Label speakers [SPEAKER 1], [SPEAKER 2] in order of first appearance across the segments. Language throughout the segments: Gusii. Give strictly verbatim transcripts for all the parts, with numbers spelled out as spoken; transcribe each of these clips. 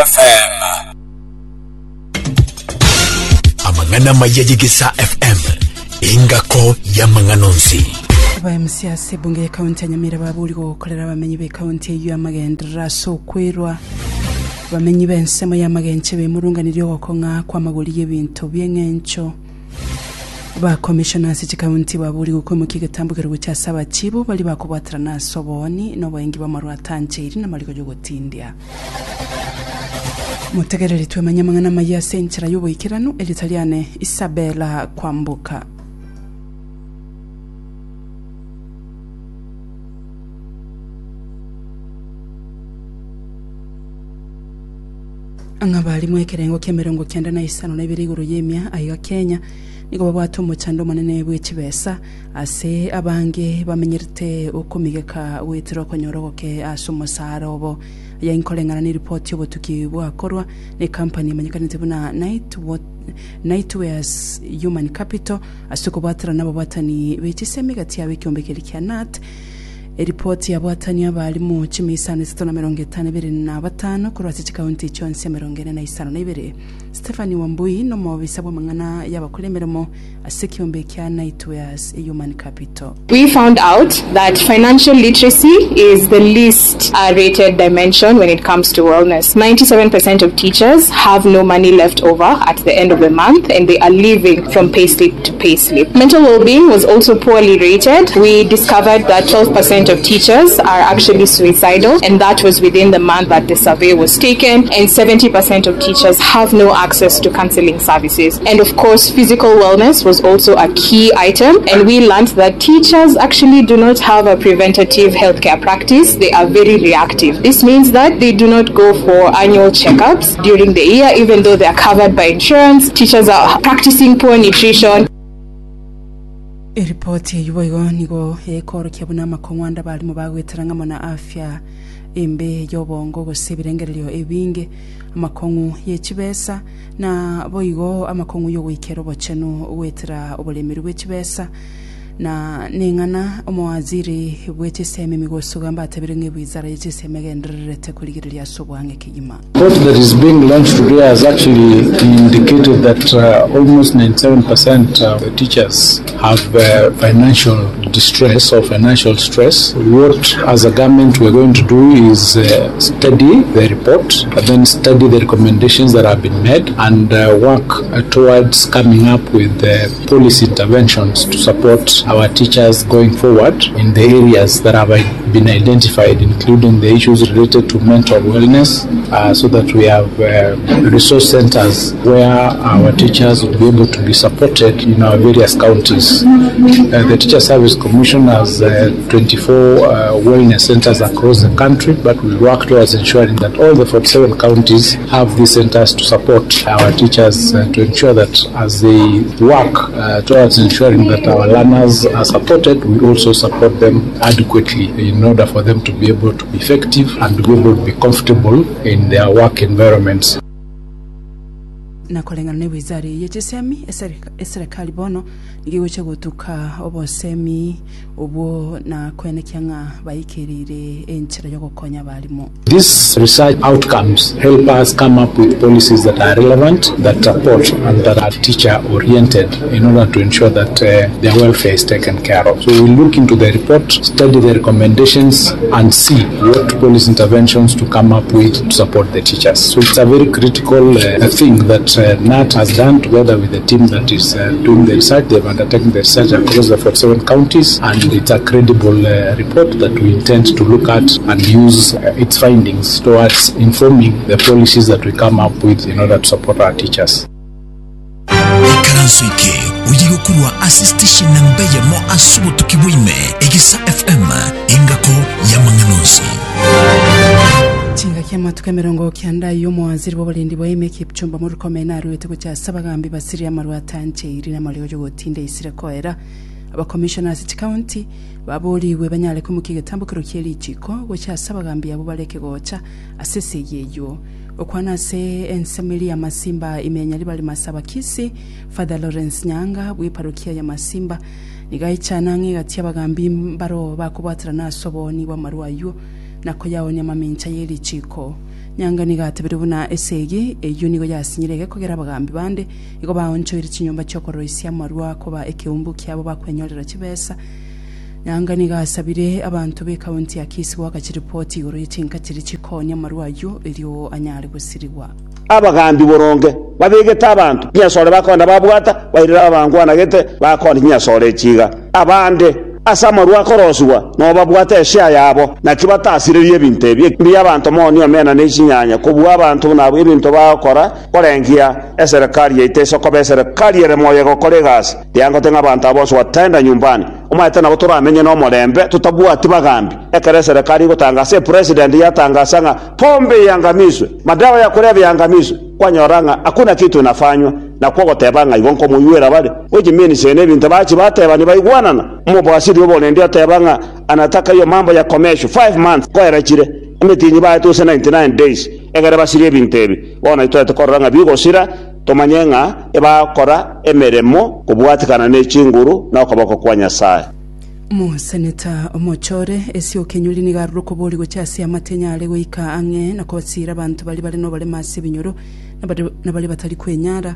[SPEAKER 1] F M.
[SPEAKER 2] Amang'ana maya y'Egesa F M, engako y'amang'ana onsi.
[SPEAKER 3] Aba M C A ase ebunge y'ekaunti ya Nyamira baburi gokorera abamenyi b'ekaunti eyio amagenderero ase okwerwa. Abamenyi b'ensemo y'amagenche bemurunganirie ogokong'a kw'amagori y'ebinto bi'eng'encho. Bakomishona ase chikaunti baburi gokoimokia egetambokero gochia ase abachibu bari bakobwaterana ase obooni na oboengi bw'amarwa atancheiri na amariko y'ogotindia. Motegereri twemanye amang'ana amaya ase enchera y'oboikeranu eritariane Isabella Kwamboka. Ng'a barimo ekerengo ki'emerongo kianda na isano na ibere igoro y'emia aiga Kenya nigo babwate omochando omonene bwe chibesa ase abange bamenyerete okomigeka goetera okonyora ogoke ase omosara obo aya inkoreng'ana na eripoti y'obotuki bwakorwa na ekampani emanyekanete buna Night Nightwares Human Capital ase okobwaterana ababwatani be chisemi gati yabo ekiombe keria kia K N A T. Eripoti yabwatani abarimu chimia isano isato na merongo etano ebere na batano korwa ase chikaunti chionsi emerongo ene na isano na ibere. Stephanie Wambui nomobisa bw'amang'ana y'abakora emeremo ase ekiombe kia Nightwares Human Capital.
[SPEAKER 4] We found out that financial literacy is the least uh, rated dimension when it comes to wellness. ninety-seven percent of teachers have no money left over at the end of the month and they are living from payslip to payslip. Mental well-being was also poorly rated. We discovered that twelve percent of teachers are actually suicidal, and that was within the month that the survey was taken, and seventy percent of teachers have no access to counseling services. And of course, physical wellness was also a key item, and we learned that teachers actually do not have a preventative healthcare practice. They are very reactive. This means that they do not go for annual checkups during the year, even though they are covered by insurance. Teachers are practicing poor nutrition.
[SPEAKER 3] Eripoti eyio boigo nigo ekorokia buna amakong'wanda barimo bagwetera ng'amo na afya embe y'obongo gose ebirengererio ebinge, amakong'u yechibesa na boigo amakong'u yogoikera obochenu gwetera oboremeri bwe chibesa na neng'ana omowaziri bwe chisemi Migosi Ogamba atabire ng'a ewizara ye chisemi egendererete korigereria ase obwang'e kegima.
[SPEAKER 5] Report that is being launched today has actually indicated that uh, almost ninety-seven percent of the teachers have uh, financial distress or financial stress. What, as a government, we're going to do is uh, study the report, and then study the recommendations that have been made, and uh, work uh, towards coming up with uh, policy interventions to support our teachers going forward in the areas that have been identified, including the issues related to mental wellness, uh, so that we have uh, resource centers where our teachers will be able to be supported in our various counties. Uh, the Teacher Service Commission has uh, twenty-four uh, wellness centers across the country, but we work towards ensuring that all the forty-seven counties have these centers to support our teachers uh, to ensure that as they work uh, towards ensuring that our learners are supported, we also support them adequately in order for them to be able to be effective and to be able to be comfortable in their work environments.
[SPEAKER 3] Nakoreng'ana na ewizara ye chisemi eserikali bono nigo egocha gotuka obosemi obwo na koenekia ng'a baikereire enchera yogokonya abarimo.
[SPEAKER 5] These research outcomes help us come up with policies that are relevant, that support, and that are teacher oriented in order to ensure that uh, their welfare is taken care of. So we look into the report, study the recommendations, and see what policy interventions to come up with to support the teachers. So it's a very critical uh, thing that uh, K N A T has done together with the team that is uh, doing the research. They've undertaken the research across the forty-seven counties, and it's a credible uh, report that we intend to look at and use uh, its findings towards informing the policies that we come up with in order to support our teachers.
[SPEAKER 2] Ekaranso eke oye gokurwa ase station namba eyemo ase obotuki bwaime, Egesa F M, engako y'amang'ana onsi.
[SPEAKER 3] Chingaki amatuko emerongo kianda y'omowaziri bw'oborendi bwa ime Kipchumba Murkomen arwete gocha ase abagambi basirie amarwa atancheiri na amariogo yogotinda isire koera. Abakomishona ase chikaunti baboriwe banyare koimokia egetambokero kia richiko gocha ase abagambi abo bareke gocha ase esegi eywo. Okwana ase ensemeri ya Masimba imenya ribari masaba Kisii, Father Lawrence Nyanga bw'eparokia ya Masimba nigaichana ng'a egati abagambi mbaro bakobwaterana ase obooni bw'amarwa aywo nako yaonia amamincha y'erichiko Nyanga nigo atebire buna esegi eyio nigo yasinyire egekogera abagambi bande igo baonchoire chinyomba chiokoroisia amarwa koba ekeumbu kiabo bakwenyorera chibesa. Nyanga nigo asabire abanto b'ekaunti ya Kisii goaka chiripoti igoro ye chinka chiri chikonia amarwa ayio erio anyare gosirigwa.
[SPEAKER 1] Abagambi boronge babegete abanto chinyasore bakonda babwata bairera abangwanagete bakondi chinyasore chiga abande ase amarwa akorosiwa no babwate eshare yabo naki batasirerie ebinto ebi mbi abanto moni omena na chinyanya kobua abanto nabo ebinto bagokora korengia eserekari yaito esokoba eserekari ere moyo egokora egasi riangote ng'a abanto abo bonsi wataenda nyumbani omanyete nabo toramenye na omorembe tutabwati bagambi ekero eserekari egotangasa epresident yatangasa ng'a pombe iangamizwe, madawa ya kulevya yangamizwe, kwanyora ng'a hakuna kitu inafanywa na kwogoteba ng'a igo nkomoywera bare which means ene ebinto bachi bateba nibaigwanana omobwasiri oborendi ateba ng'a anataka hiyo mambo ya commercial five months koera chire emitinyi baetuse ninety-nine days egere basirie ebinto ebi bono itwete korora ng'a bigosira tomanye ng'a ebakora emeremo kobwatikana na echinguru na okoboko kwa Nyasaye.
[SPEAKER 3] Omoseneta omochore Esio Kenyuri nigo arure okobori gochia ase amatenya are goika ang'e na kobasira abanto bari bare noborema ase ebinyoro na bari batari kwenyara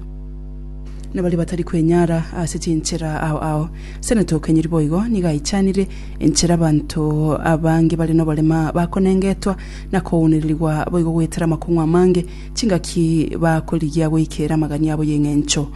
[SPEAKER 3] na bari batari kwenyara ase chinchera ao ao. Seneta Okenyuri boigo nigo aichanire enchera abanto abange bare noborema bakonengetwa na kounererigwa boigo goetera amakong'u amange chingaki bakorigia goikera amagani abo y'eng'encho.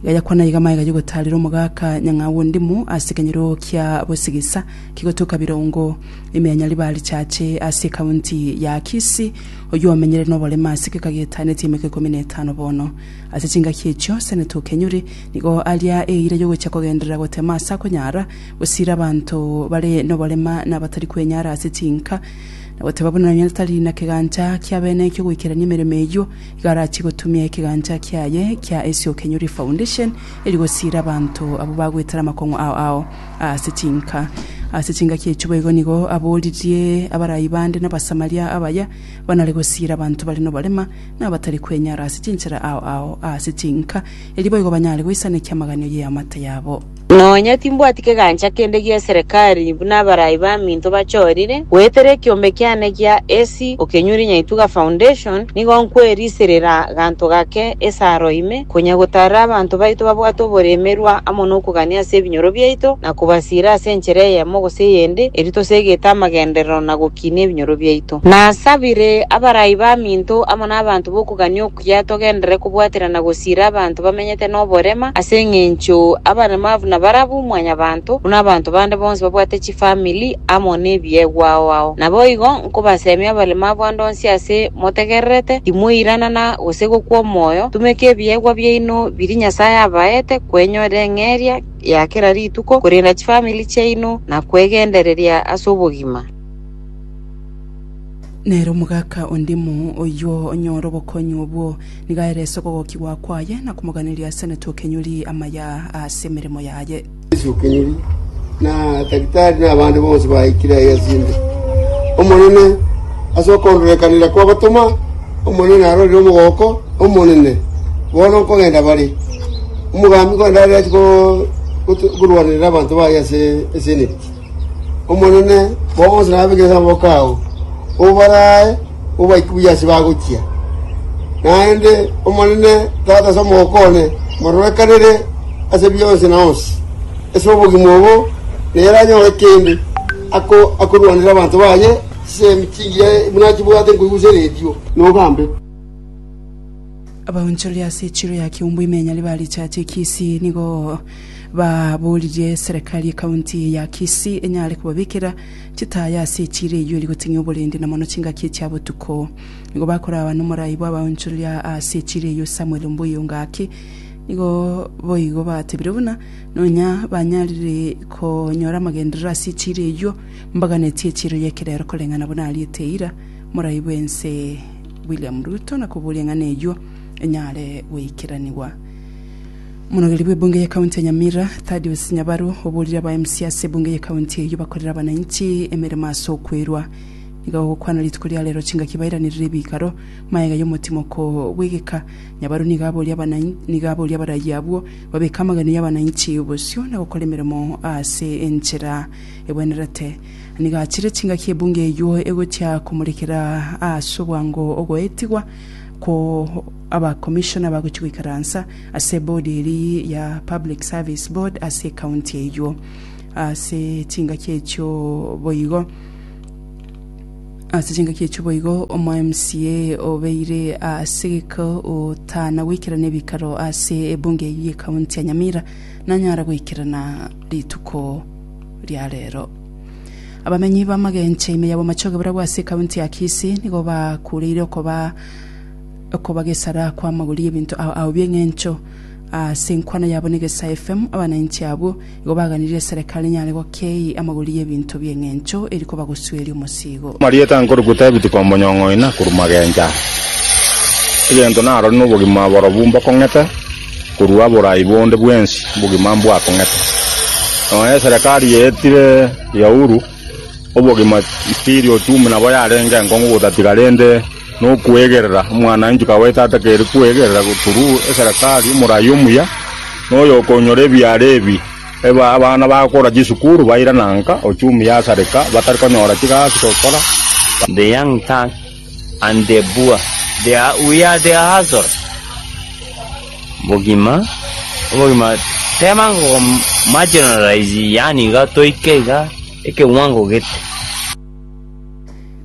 [SPEAKER 3] Gayakwana iga maiga yogotarera omogaka Nyang'au Ndimu ase ekenyoro kia Bosigisa kigotoka Birongo imenya ribari chache ase ekaunti ya Kisii oyo omenyere noborema ase kekagetaneti emeka ikomi na etano bono. Ase chingaki echio Seneta Okenyuri nigo aria eira yogochia kogenderera gotema ase akonyara gosira abanto bare noborema na batari kwenyara ase chinka na goteba buna nonya tari na kegancha kia bene ekio goikerania emeremo eyio iga arachi gotumia ekegancha kiaye kia Esio Kenyuri Foundation eri gosira abanto abo bagwetera amakong'u ao ao ase chinka. Ase chingaki echio boigo nigo aboririe abarai bande na abasamaria abaya banare gosira abanto bare noborema na abatari kwenyara ase chinchera ao ao ase chinka eri boigo banyare goisanekia amaganio ye amate yabo.
[SPEAKER 6] Nonya timbwati kegancha kende gia serikali buna abarai ba minto bachorire gwetere ekiombe kiane gia Esi Okenyuri Nyaituga Foundation nigo nkweriserera ganto gake esaro ime konya gotara abanto baito babwate oboremerwa amo nokogania ase ebinyoro biaito na kobasira ase enchera eyemo gose eyende eri tosegete amagenderero na gokinia ebinyoro biaito. Nasabire abarai ba minto amo na abanto bokogania okuya togendere kobwaterana gosira abanto bamenyete noborema ase eng'encho abaremavu na barabu mwanyabanto buna abanto bande bonsi babwate chifamily amo nebiegwa ao ao. Nabo igo nkobasemia abaremavu ande onsi ase motegererete timoiranana gose gokwa omoyo tumeke ebiegwa biaino biri Nyasaye abaete kwenyora eng'eria ya kera rituko korenda chifamily chiaino na kwegendereria ase obogima.
[SPEAKER 3] Nero omogaka Ondimu oyo onyora obokonyi obwo nigo aerese okogokigwa kwaye na komoganeria Seneta Okenyuri amaya ase emeremo yaye.
[SPEAKER 7] Okenyuri na daktari na abandi bonsi baikire ayasinde omonene ase okondorekanira kwa batoma omonene arorire omogoko omonene bono nkogenda bari omogambi kogenda ari achi korwanirira abanto baye ase eseneti omonene bonsi nabegesa amaboko ao obarae obaikubuya ase bagochia naende omonene tata ase omogoko one mororekanire ase bionsi na onsi ase obogima obo nere anyore kende ako akorwanira abanto baye chisemi chingiya buna chibwate nkoigusa eredio nogambe.
[SPEAKER 3] Abaonchori ase echiro ya Kiumbu imenya ribari chache Kisii nigo baboririe serikali ekaunti ya Kisii enyare kobabikera chitaya ase echiro eyio eri goting'ia oborendi na mono chingaki chia botuko. Nigo bakora nomorai bwa abaonchoria ase echiro eyio Samuel Mbuyu Ngaki nigo boigo batebire buna nonya banyarire konyora amagenderero ase echiro eyio mbaganetie echiro yekerero koreng'ana buna ariete eira morai bwense William Ruto na koboria ng'ana eyio enyare goikeraniwa. Monogeri bw'ebunge ya kaunti ya Nyamira Thaddeus Nyabaru oborire aba M C ase ebunge ya kaunti eyio bakorera abananchi emeremo ase okwerwa. Nigo gokwana rituko ria rero chingaki bairanirire ebikaro maega y'omotimoko bw'egeka. Nyabaro nigo aboria abananchi nigo aboria abarai abwo babeke amageno y'abananchi obosio na gokora emeremo ase enchera ebwenerete. Nigo achire chingaki ebunge eywo egochia komorekera ase obwango ogoetigwa ko abakomishona bagochia goikaransa ase ebodi eri ya Public Service Board ase ekaunti eywo ase chingaki echio boigo. Ase chingaki echio boigo omo M C A obeire ase geko otana goikerana ebikaro ase ebunge eywo y'ekaunti ya Nyamira nanyara goikerana rituko ria rero. Abamenyi b'amagenche ime ya Bomachoge barabwo ase ekaunti ya Kisii nigo bakureire okoba okobagesara kwa amagori y'ebinto ao ao bi'eng'encho. Ase enkwana yabo na Egesa F M, abananchi abwo igo baganirie eserekari enyare gokei amagori y'ebinto bi'eng'encho eri kobagosueria omosigo.
[SPEAKER 8] Marieta nkorukuta ebituko omonyong'oina korwa magencha egento narori na obogima borobu mbokong'ete korwa oborai bonde bwensi obogima mbwakong'ete nonya eserekari yeetire ya Uhuru obogima still ochumi nabo yarenge enkong'u gotatiga rende nokwegerera omwananchi kawaida atakeire kwegerera through eserekari omorai omuya noyo okonyora ebiara ebi eba abana bagokora chisukuru bairananka ochumi yasareka batari konyora chigasi gokora.
[SPEAKER 9] The young thug and the poor. They are, we are the hustlers. Bogima, bogima, tema ngo marginalize, yani iga toike iga ekewango gete.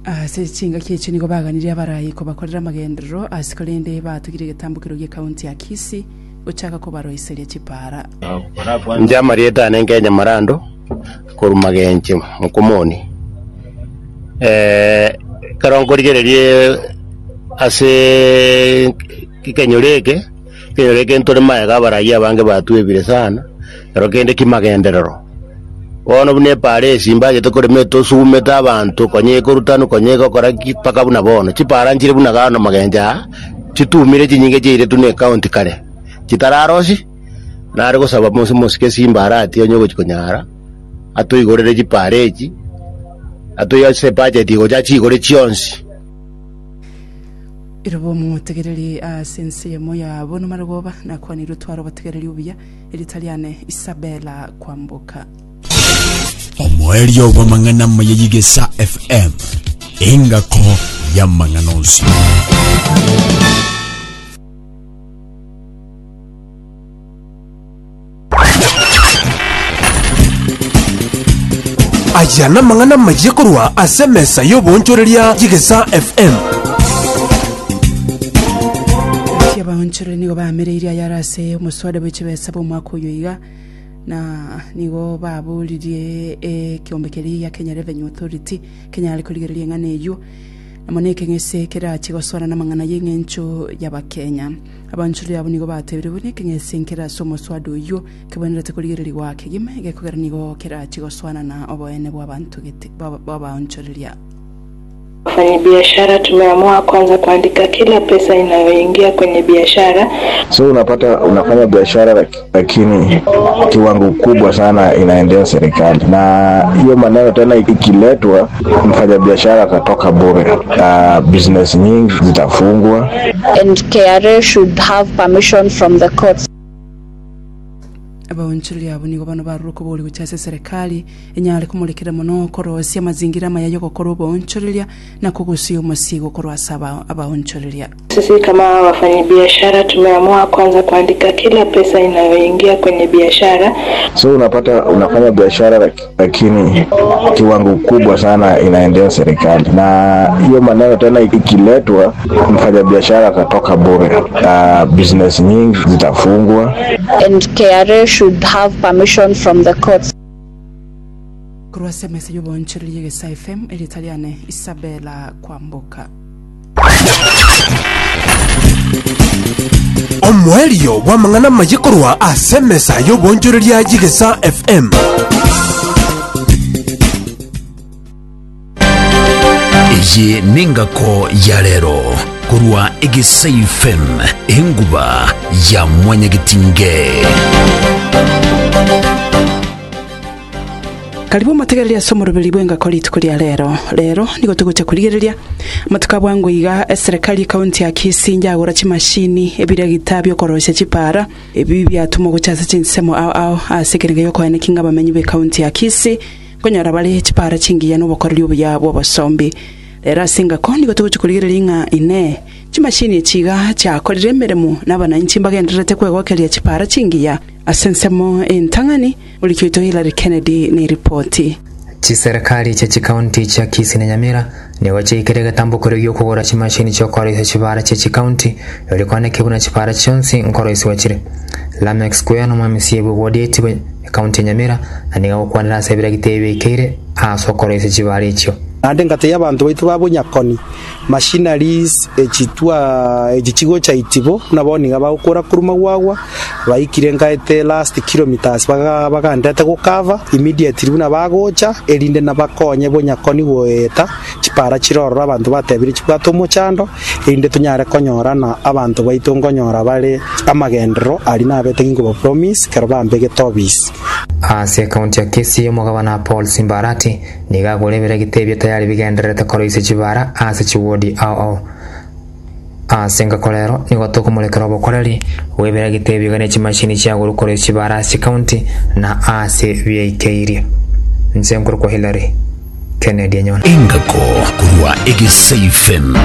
[SPEAKER 3] Ase chingaki echio nigo baganirie abarai kobakorera amagenderero ase korende batugire egetambokero gia ekaunti ya Kisii gochaka kobaroiseria chipara.
[SPEAKER 10] Nche amarieta ane Kenya Marando korwa Magenche Mokomoni eh ekero nkorigererie ase ekenyoro eke ekenyoro eke ntore maega abarai abange batwebire sana ekero kende kimagenderero bono buna epara esi mbachete korema etosumete abanto konya ekorutanu konya egokora ki mpaka buna bono chipara nchire buna gano Magenche aa chitumire chinyinge chiairetwe na ekaunti kare chitararosi nare gosaba mose mosike Simba Arati onye ogochi konyara atoigorere chipara echi atoyase ebudget gocha chigore chionsi.
[SPEAKER 3] Irobo omotegereri ase ensemo ya bono marogoba nakwanirwe twara obotegereri obuya eritariane Isabella Kwamboka.
[SPEAKER 2] Omoerio bw'amang'ana amaya y'Igesa F M, engako y'amang'ana onsi.
[SPEAKER 11] Aya namang'ana amaya korwa ase emesa y'obonchoreria y'Egesa F M.
[SPEAKER 3] Ati abaonchoreri nigo bamereirie ayare ase omoswada bw'echibesa bw'omwaka oyo iga na nigo baburirie ekiombe keria ya Kenya Revenue Authority kenyare korigereria eng'ana eywo namo na ekeng'ese kerache goswana na amang'ana y'eng'encho y'abakenya. Abaonchoreri abo nigo batebire buna ekeng'ese nkere ase omoswada oywo kebwenerete korigereriwa kegima egekogera nigo kerache goswana na oboene bwa abanto gete bw'abaonchoreria.
[SPEAKER 4] Wafanyabiashara tumeamua kwanza kuandika kila pesa inayoingia kwenye biashara.
[SPEAKER 12] So unapata unafanya biashara lakini kiwango kubwa sana inaendea serikali, na hiyo maneno tena ikiletwa, mfanyabiashara atatoka bure. Uh, business nyingi zitafungwa.
[SPEAKER 13] And K R A should have permission from the courts.
[SPEAKER 3] Abaonchoreri abo nigo bano barure okobori gochia ase serikali enyare komorekera mono korosia amazingira amaya yogokora oboonchoreria na kogosia omosigo korwa ase aba- abaonchoreria.
[SPEAKER 4] Sisi kama wafanyabiashara tumeamua kwanza kuandika kila pesa inayoingia kwenye biashara.
[SPEAKER 12] So unapata unafanya biashara lakini kiwango kubwa sana inaendea serikali, na hiyo maneno tena ikiletwa, mfanyabiashara atatoka bure. Uh, business nyingi zitafungwa.
[SPEAKER 13] And K R A should have permission from the courts.
[SPEAKER 3] Korwa ase emesa y'oboonchoreria Egesa F M, eritariane Isabella Kwamboka.
[SPEAKER 11] Omoerio bw'amang'ana amaya korwa ase emesa y'obonchoreria y'Egesa F M.
[SPEAKER 2] Eye nengako ya rero korwa Egesa F M, enguba ya mwanyagetinge.
[SPEAKER 3] Karibu omotegereria ase omoroberi bw'engako rituko ria rero. Rero nigo togocha korigereria amatuko a bwango iga eserekari ekaunti ya Kisii njagora chimashini ebiregita biokorosia chipara ebi biatuma gocha ase chinsemo ao ao ase ekerenge giokoeneki ng'a abamenyi ba ekaunti ya Kisii nkonyora bare chipara chingiya na obokoreri obuya bwa obosombi. Rero ase engako nigo togocha korigereria ng'a inee chimashini echi iga chiakorire emeremo na abananchi mbagendererete kwegokeria chipara chingiya ase ensemo entang'ani oriki oito Hillary Kennedy na eripoti.
[SPEAKER 14] Chiserikali chia chikaunti chia Kisii na Nyamira nigo chiaikire egetambo keria gi'okogora chimashini chiokoroisia chibara chia chikaunti erio koaneke buna chibara chionsi nkoroisiwa chire. Lameck Square nomwamisia bwe ward etibo ekaunti ya Nyamira na nigo agokwanera ase ebiragita ebi biaikeire ase okoroisia chibara echio.
[SPEAKER 15] Naende ngate y'abanto baitu babonyakoni machineries echitwa echichigo cha itibo nabo niga bagokora kuruma gwagwa baikire nkaete last kilometers baga bagandete gokava immediately buna bagocha erinde nabakonye bonyakoni goeta chipara chirorora abanto batebire chibwate omochando erinde tunyare konyorana abanto baitu nkonyora bare amagendero ari nabete ginkoba promise kero bambegete obisi.
[SPEAKER 14] Ase ekaunti ya Kisii omogabana Paul Simbarati nigo agora ebiragita ebio tayari bigendererete koroisia chibara ase chiwodi ao ao. Ase engako rero nigo tokomorekera obokoreri bwa ebiragita ebio iga na chimashini chiagoro koroisia chibara ase chikaunti na ase biaikeirie. Nse nkorokwa Hillary Kennedy Enyona.
[SPEAKER 2] Engako korwa Egesa F M.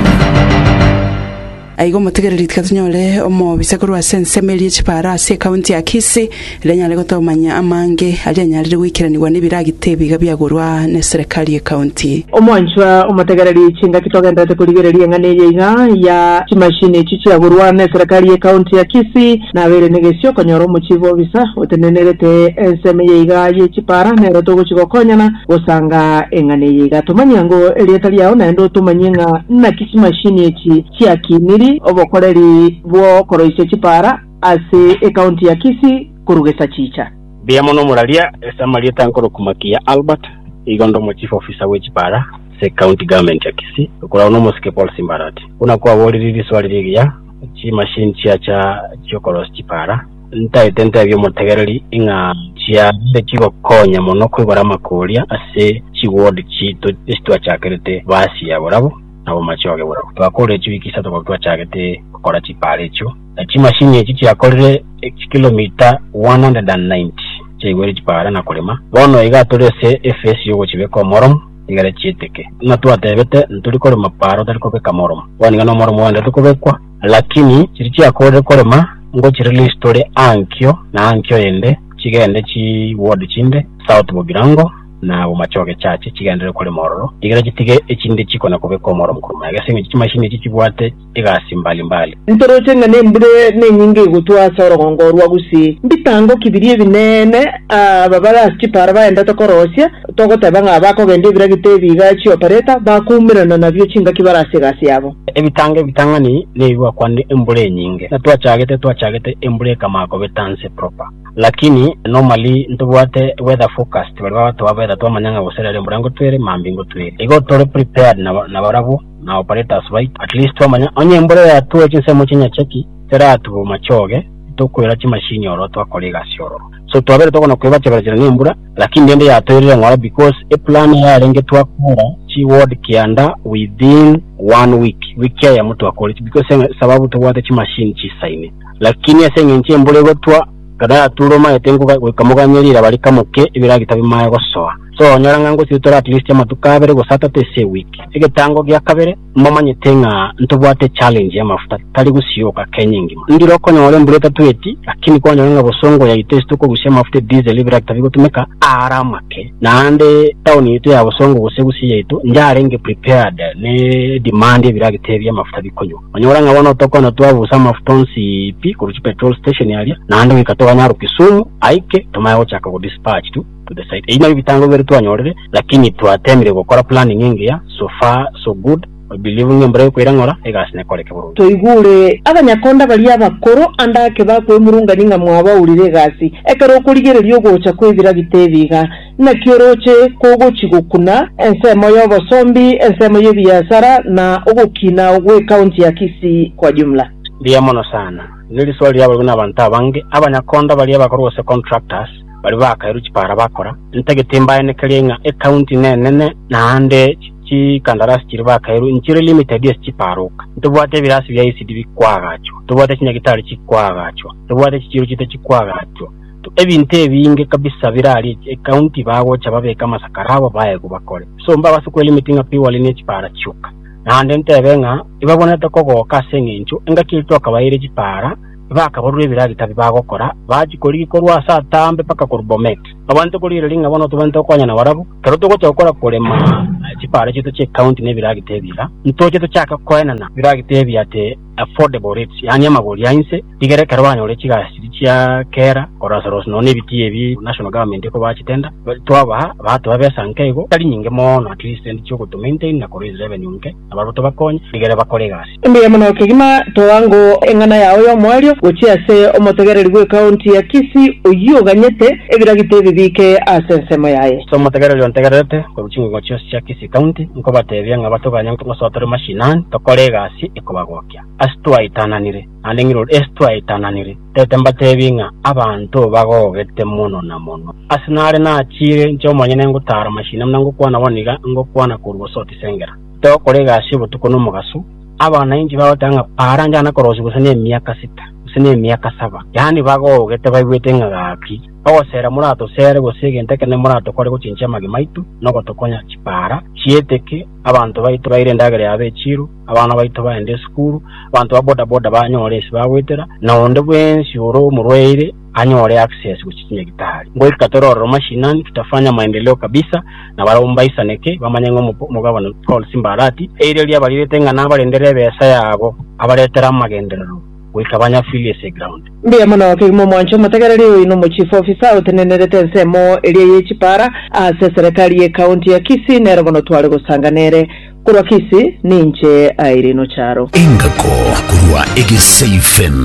[SPEAKER 3] Aiga omotegereri tika tonyore omobisa korwa ase ensemo eria echipara ase ekaunti ya Kisii eria anyare gotomanya amange aria anyarire goikeranigwa na ebiragita ebiga biagorwa na eserekari ya ekaunti.
[SPEAKER 16] Omwanchwa omotegereri, chingaki togenderete korigereria eng'ana eye iga ya chimashini echi chiagorwa na eserekari ya ekaunti ya Kisii, nabere negesio konyora omochief officer otenenerete ensemo eye iga ye chipara nero togochigokonyana gosanga eng'ana eye iga. Tumanyia ngo erieta riao naende otumanyie ng'a naki chimashini echi chiakiniri obokoreri bwokoroisia chipara ase ekaunti ya Kisii korugesa chicha.
[SPEAKER 17] Mbia mono muraria esamarieta nkorokumakia Albert igondo mo chief officer we chipara se county government ya Kisii okorao no mosike Paul Simbarati una kwa boriri swali rigiya chi machine chiacha chiokoros chipara ntaete ntebia omotegereri ing'a chiabe chigokonya mono kwigora amakoria ase chiward chito esitwachakerete basi ya borabo nabo machoge borabo twakorire chiwiki isato kwa twachagete gukora chipara echio na chimashini echi chiakorire chikilomita one hundred and ninety chiaigwere chipara na kurima. Bono iga turi ase efesi yogochibeka omoromo igare chieteke na twatebete nturi kurima paro tari kubeka moromo bono iga nomoromo wende tukubekwa, lakini chiri chiakorire kurima ngo chirelease turi ankio na ankio ende chigende chi ward chinde South Bogirango na bomachoge chache chigendere kurima ororo igere chitige echinde chikona kubeka omoromo kurima egese chimashini echi chibwate egasi mbalimbali.
[SPEAKER 16] Ntoroche ng'a nembure nenyinga egotwasa orogongo rwa Gusii mbitango kibiri ebinene aba barasi chipara baendete korosia togoteba ng'a bakogenda ebiragita ebiga chiopereta bakumirana nabio chingaki barase egasi yabo.
[SPEAKER 17] Ebitanga ebitang'ani nebibwakwanire embura enyinge na twachagete twachagete embura ekamako betanse proper, lakini normally ntobwate weather forecast bari babatwa weather twamanya ng'a goserera embura ngotwere mambi ngotwere igo tore prepared na na barabo na operators bait at least twamanya onye embura yatwe chinsemo chinyacheki teratubo machoge tokwera chimashini oro twakora egasi ororo so twabere tokona kwebachebera n'embura, lakini ndende yatwerire ng'ora because eplan yarenge twakora chi ward kianda within one week wiki eyemo twakora because sababu tobwate chimashini chisaine, lakini ase eng'encho embura egotwa kada yatura omaete goikamoganyerira bari kamoke ebiragita bimae gosoa so onyora ng'a ngositora at least amatuko abere gose atatu ase ewiki. Egetango gia kabere mbamanyete ng'a ntobwate challenge y'amafuta tari gusioka Kenya engima ndire okonyora embura etatweti, lakini kwanyora ng'a bosongo yaito ase tokogusia amafuta diesel ebiragita bigotumeka ara amake naende town yitu ya Bosongo gose Gusii yaito njarenge prepared ne demand ebiragita ebi amafuta bikonywa onyora ng'a bono tokona twabusa amafuta onsi pi korwa petrol station aria naende goika toganyaro Kisumu aike tumaye gochaka go dispatch tu to the site. Ebi nabio bitango bibere twanyorire, lakini twatemire gokora planning engiya. So far so good. I believe ng'a embura ekoira ng'ora egasi nekoreke burungi.
[SPEAKER 16] Toigure abanyakonda baria abakoro andake bakwemurungani ng'a mwabaurire egasi ekero okorigereria ogocha kwebiragita ebiga naki oroche kogochi gokuna ensemo ya obosombi ensemo ya ebiasara na ogokina gwe ekaunti ya Kisii kwa jumla.
[SPEAKER 17] Ndiya mono sana nili swali lyabo na abantu abange abanyakonda baria bakora gose contractors. Bari bakairu chipara bakora ntagete mbaenekerie ng'a ekaunti nenene naande chikandarasi chiri bakairu nchire limited ase chiparoka. Ntobwate ebirasi bia E C D bikwagachwa, tobwate chinyagitari chikwagachwa, tobwate chichiro chite chikwagachwa, ebinto ebinge kabisa birari ekaunti bagocha babeka amasakara abo baegu bakore. So mbabase kwelimiti ng'a piwali ne chipara chioka. Naende ntebe ng'a ibabonete kogoka ase eng'encho engaki twakabaire chipara bakaborwa ebiragita bibagokora bachikorigi korwa ase atambe mpaka korwa Bomet. Abanto korire ringa bono tobante gokonya na barabwo kero togocha gokora korema chipara chieto chia ekaunti na ebiragita ebiga ntoche tochaka koenana biragita ebi ate affordable rates, yaani amagori ainse rigere ekero banyore chigasi chia kera korasorosa nonya ebiti ebi national government ekobachitenda twabaha batoa besa nke igo tari nyinge mono, at least endi chiogoto maintain na koraise revenue nke nabarabwo tobakonye rigere bakore egasi.
[SPEAKER 16] Mbuya mono kegima. Toango eng'ana yao y'omwerio gochia ase omotegereri bwa ekaunti ya Kisii oyio oganyete ebiragita ebi bike ase ensemo yaye.
[SPEAKER 17] So omotegereri ontegererete korwa chingongo chionsi chia Kisii County, nkobatebia ng'a batoganya ngosotore mashinani tokore egasi ekobagokia ase twaitananire naende ng'iro ase twaitananire tete mbatebi ng'a abanto bagogete mono na mono ase nare nachire nche omonyene ngotara mashina muna ngokwana bono iga ngokwana korwa gosotisengera togokora egasi obotuko na omogaso. Abananchi bagoteba ng'a para njana korosi gose na emiaka sita gose na emiaka saba, yaani bagogete baigwete ng'a gaki ogosera moratosere gose egento ekene moratokore gochinchia amagima aitu nogotokonya chipara chieteke abanto baitu baire endagera yabo echiru, abana baitu baende esukuru, abanto ba bodaboda banyore ase bagwetera na onde bwensi ore omorwaire anyore access gochi chinyagitari. Ngoika tororero mashinani tutafanya maendeleo kabisa na barabwo mbaisaneke bamanye ng'a omogabana Paul Simba Arati eire riabarirete ng'a nabarendere ebesa yabo abaretera amagenderero goika banyafili ase ground.
[SPEAKER 16] Mbuya mono kegima. Omwancho omotegereri, oyo no omochief officer otenenerete ensemo eria ye chipara ase serikali ye kaunti ya Kisii, nero bono tware gosanga nere korwa Kisii. Ninche Irene Ocharo.
[SPEAKER 2] Engako korwa Egesa F M.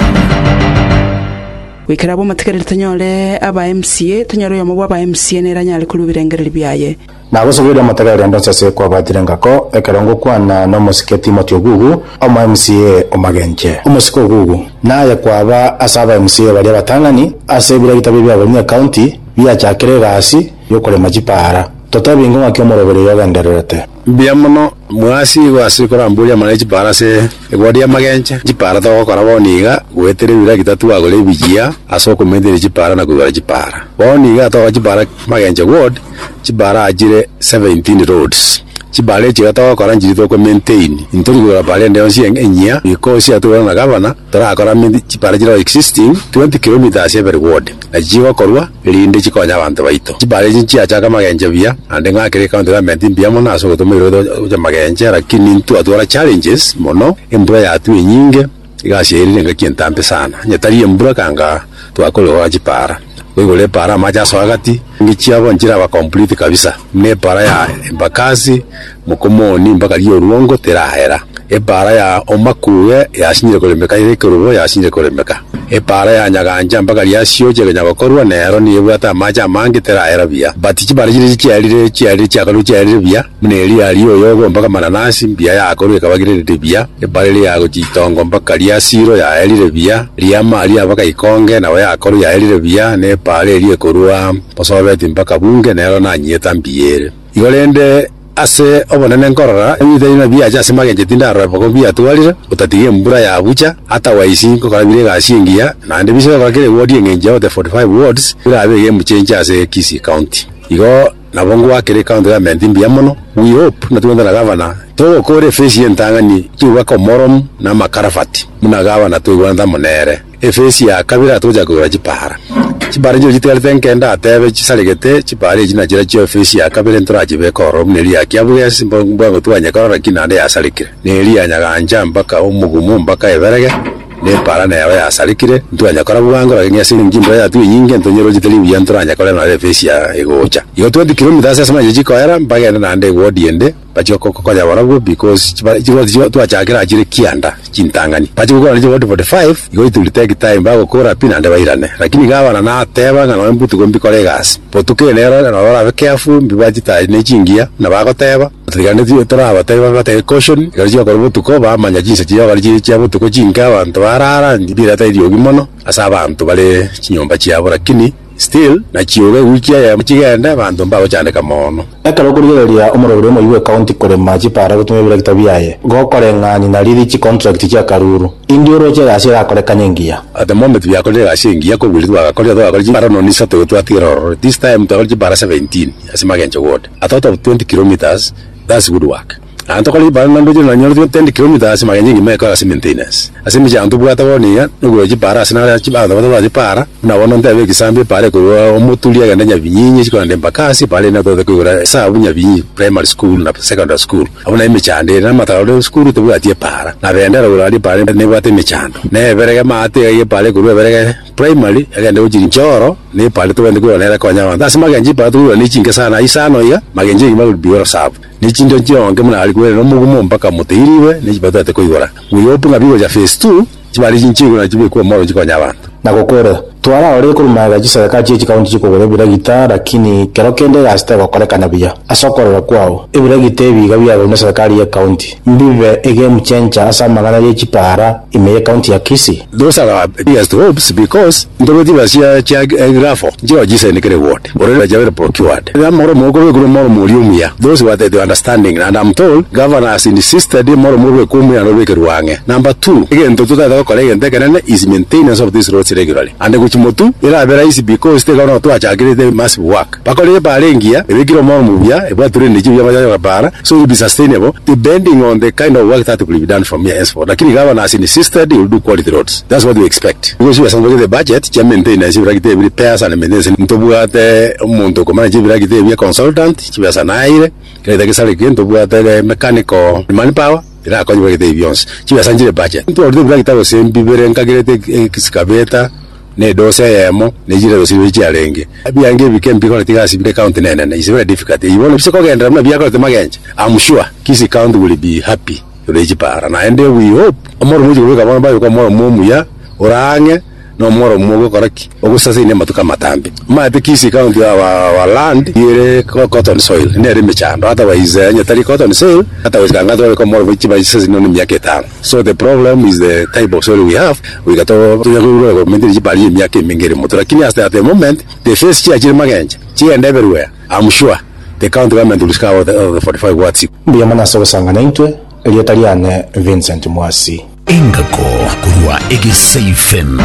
[SPEAKER 3] Gwikara abo omotegereri, tonyore aba M C A, tonyore oyomo bwa aba M C A nere anyare korwa ebirengereri biaye.
[SPEAKER 18] Nagosogeria omotegereri ndonse ase kwabatire ngako ekero ngokwana na omosike Timothy Ogugu, omo M C A omagenche. Omosike Ogugu, naye kwaba ase aba M C A baria abatang'ani ase ebiragita bia biabonye county biachakire egasi yokorema chipara. Totebingo ng'aki omorobere yogendererete?
[SPEAKER 19] Mbia mono mwasi gwase koramburia amana chipara ase eward ya Magenche. Chipara togokora bono iga gwetera ebiragita twagora ebijia ase okomentera chipara na koigora chipara. Bono iga togoka chipara Magenche ward, chipara achire seventeen roads. Chipara echi iga togokora nchiri toko maintain, ntori kogora para ende yonsi enyia because atugora na gavana torakora chipara chiro existing twenty kilometers every ward na chigokorwa rinde chikonya abanto baito. Chipara echi nchiachaka Magenche buya naende ng'akere county government mbuya mono ase ogotomaire gocha Magenche, lakini ntwatwara challenges mono. Embura yatwa enyinge igasi erire engaki entambe sana nyetari embura kanga twakorire chipara koigora epara amache asoa gati ngichiabo nchiraba complete kabisa ne epara ya Embakasi Mokomoni mpaka Rioruongo terahera. Epara ya Omakuge yasinyire koremeka ere ekerubo yasinyire koremeka. Epara ya Nyaganja mpaka riasioche kenyagokorwa nero niyo ebwate amache amange terahera buya, but chipara chire chiarire chiarire chiakorwa chiarire buya buna eri ya Rioyogo mpaka Mananasi mbuya yakorwa ekabagirerete buya. Epara eri ya Gochitongo mpaka Riasiro yaerire buya, Riamaria mpaka Ikonge nabo yakorwa yaerire buya, na epara eri ekorwa Bosobeti mpaka Bunge nero nanyieta mbuya ere. Igo rende ase obonene nkorora ebitaina biacha ase Magenche tindarora boko biatwarire otatiga embura yabucha otherwise nkokora bire egasi engiya naende bisegokora kere ward eng'encho of the forty-five wards birabe egemuchenche ase Kisii County. Igo nabo ngwakere county government mbuya mono. We hope natugenda na gavana togokora efesi entang'ani twibwaka omoromu na amakarafati muna gavana twigwanete amo nere. Efesi ya kabere atogocha kogora chipara, chipara nchiro chitigarete nkenda atebe chisaregete. Chipara echi nachira chio efesi ya kabere ntorachibeka ororo buna eri ya Kiabugesi mbwango twanyekorora lakini naende yasarekire, na eri ya Nyaganja mpaka Omogumu mpaka Eberege nepara nero yasarekire ntwanyakora bwango, lakini ase nchimbura yatwa enyinge ntonyerogete ribuya ntoranyakora nore efesi ya egocha. Igo twenty kilometers ase mache chikoera mpagende naende eward ende bachi konya barabwo because chiward twachakire achire kianda chintang'ani bachi gokora chiward forty-five. Igo it will take time bagokora pi naende bairane, lakini gavana nateba ng'a noe mbutuko mbikore egasi botuko nero nabo barabe careful mbibwachitayi ne chingiya na bagoteba tigane torabateba batebe caution ekero chiakora botuko bamanya chinsa chiakora chiri chia botuko chinke abanto barara mbireta eriogi mono ase abanto bare chinyomba chiabo lakini Still na chioge wiki ya chigende bantu mbagochandeka mono.
[SPEAKER 18] Ekero okorigereria omoroberi omoyi bwa county korema chipara gotumia ebirekita biaye gokoreng'ani na riri chicontract chia karuru indi oroche egasi erakorekana engiya.
[SPEAKER 19] At the moment byakorire egasi engiya kobwiri twagakorire twagakorire chipara noni isato twatigera ororo. This time twakorire chipara seventeen ase Magenche ward. A total of twenty kilometers, that's good work. And tokori chipara nando chiri nanyore ten kilometers Magenche ngima ekora ase maintenance. Ase emechando tobwate bono iga nogora chipara ase nare chipara batobwate chipara buna bono ntebe ekisambi epara ekorwa omoturi agende Nyabinyinyi chikorende Embakasi epara ere natobwate koigora esabu Nyabinyinyi primary school na secondary school. Abwo naye emechando ere na amataro esukuru tobwati epara na bendera igoro aria epara nebwate emechando. Na eberege maate iga epara ekorwa eberege primary egende gochia Njoro na epara tobwenerete koigora nere ekonya abanto. Ase Magenche epara tokoigora na echinke sana isano iga Magenche egima will be well served. Nechindo chionge muna ari kwere nomugumo mpaka muteiriwe nechiba twate koigora. We hope ng'a bigocha phase two chibari chinchigura chibekwe omoro chikonya abanto.
[SPEAKER 18] Na gokora twaraorire korumaga chiserikali chie chikaunti chikogora ebiragita lakini kero kende egasi tegokorekana buya. Ase okorora kwao ebiragita ebiga biagorwa na serikali ya county mbibe egame changer ase amang'ana ye chipara ime ye county ya Kisii.
[SPEAKER 19] Those are our biggest hopes because ntobeti basia chia grafo nchiro jise kere ward already bajabere procured amoro moko bekuru moro muri omuya. Those were the understanding, and I'm told governor has insisted moro moro bekumuya no bekerwange. Number two, egento tutataka gokora egento ekenene is maintenance of these roads regularly and guchimotu irabera easy because te gono twachakirite massive work bakorire parengia ebikiro moro mubya ebwature ndichi bya bajaga para, so it will be sustainable depending on the kind of work that will be done from here henceforth. Lakini governor has insisted he will do quality roads. That's what we expect because we are the budget cha maintenance ibiragite repairs and maintenance ntobwate omuntu okomana chibiragite bya consultant chibasa naire kireta kisare kintu bwate mechanical manpower irakonye bagite byonse chibasa njire budget ntwo biragita gose mbibere nkagirete excavator ne dose yemo ne jire dose chiarenge biange bike mbikora tigasi bile county nene is very difficult ibona bisiko gendera mna byakora temagenje. I'm sure Kisii County will be happy urechipara na and we hope omoro muji kubika bona bayo kwa moro muya orange no moro mugo koraki ogusasa ine matuka matambi mate Kisii County wa, wa land yere cotton soil nere mechando otherwise nyatari cotton soil otherwise kanga to ko moro chiba sasa no myaka etano. So the problem is the type of soil we have. We got to to go mentiri chibali myaka mingere moto lakini at the moment the face chia chiri Magenche chi and everywhere. I'm sure the county government will cover the, the forty-five wards.
[SPEAKER 18] Mbuya mana sanga naintwe Elietariane Vincent Mwasi.
[SPEAKER 2] Engako kurwa Egesa F M.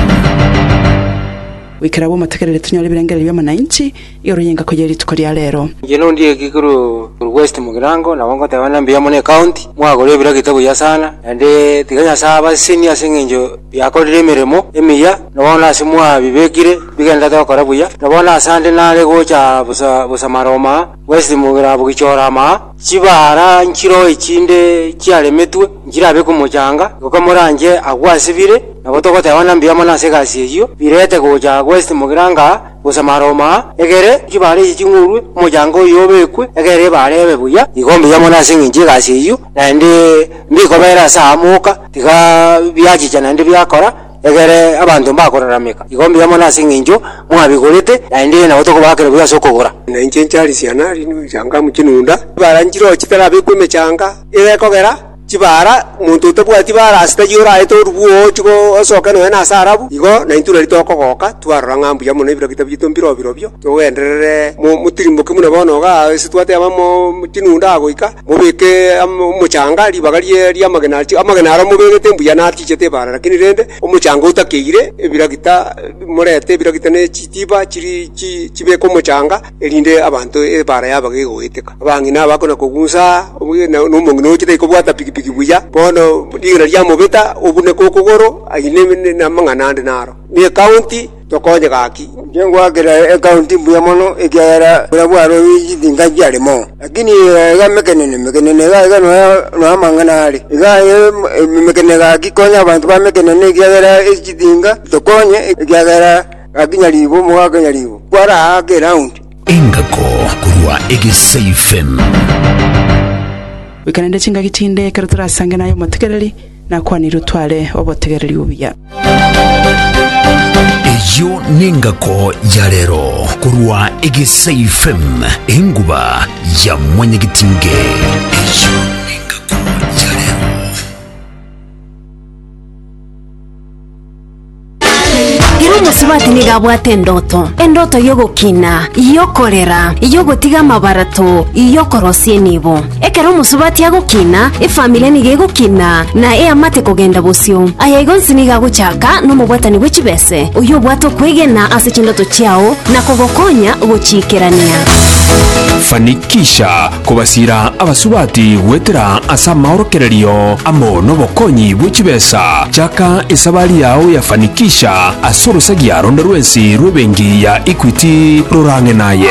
[SPEAKER 3] Wikira bo matekerere tunyore birengere bya mananchi yoruyenga ko yeri tuko lya lero.
[SPEAKER 20] Ngeno ndiye kikuru West Mugirango na wango tabana mbiya mone county mwagore biragita buya sana ande tiganya saba senior singenjo byakorire emirimo emiya nabona asimwa bibekire bigenda tokora buya nabona asande nare gocha busa busa maroma West Mugirango gichora ma chibara nchiro ichinde chiaremetwe njirabe kumuchanga gokomoranje agwasibire nabo togotewana mbiya mona segasi eyo birete gocha West Mugiranga busamaroma egere chibare chingurwe omuchango yobekwe egere barebe buya igombe yamona singinje gasi eyo nande mbikobera samuka tiga byachicha nande byakora egere abantu mbakoraramika igombe yamona singinjo mwabigorete nande nabo tokobakere buya sokogora
[SPEAKER 7] na nchari siana rinu changa muchinunda baranjiro chitara bekwe mechanga irekogera chibara muntu utabwati bara asitajura eto rubuo chiko osoka no na sarabu igo na intura ritokogoka twarora ngambu ya muno ibiro kitabito mbiro biro byo togenderere mutirimo kimuna bono ga situate abamo chinunda agoika mubeke omuchanga ribaga rie amagena amagena ara mubegete mbuya natichete bara lakini rende omuchanga utakeire ebiragita murete ebiragita ne chitiba chiri chibeko omuchanga erinde abantu ebara yabage goeteka abangina abakona kogunsa n'omongino chitaikobwata piki buya bono digira lya mubeta obune kokogoro aine na mangana ande naro ni county tokonye gaki
[SPEAKER 20] ngengwagira county mbuya mono ekiagera bura bwaro jidinga jarimo lakini ga mekenene mekenene ga ga no no mangana ari ga mekenene gaki konya abantu ba mekenene ekiagera jidinga tokonye ekiagera gakinyaribo mugakanyaribo kwara ake round
[SPEAKER 2] engako kurwa Egesa F M.
[SPEAKER 3] Wikanende chinga gitinde kero turasange nayo matekereri nakwanira utware obotegereri ubuya.
[SPEAKER 2] Eyo nengako ya lero kurwa Egesa F M enguba ya mwenyegitinge. Eyo nengako ya lero.
[SPEAKER 21] Iro Omusubati nigo abwate endoto, endoto yogokina, yokorera, yogotiga amabarato, yokorosia enibo. Ekero omusubati agokina, efamily nigo egokina na eamate kogenda bosio. Aya igo nsi nigo agochaka nomobwatani bwe chibese, oyo obwate okwegena ase chindoto chiao na kogokonya gochikerania.
[SPEAKER 11] Fanikisha kobasira abasubati gwetera ase amaorokererio amo nobokonyi bwe chibesa. Chaka esabari yao ya Fanikisha ase orosagia ronde rwensi rw'ebenki ya Equity rorang'e naye.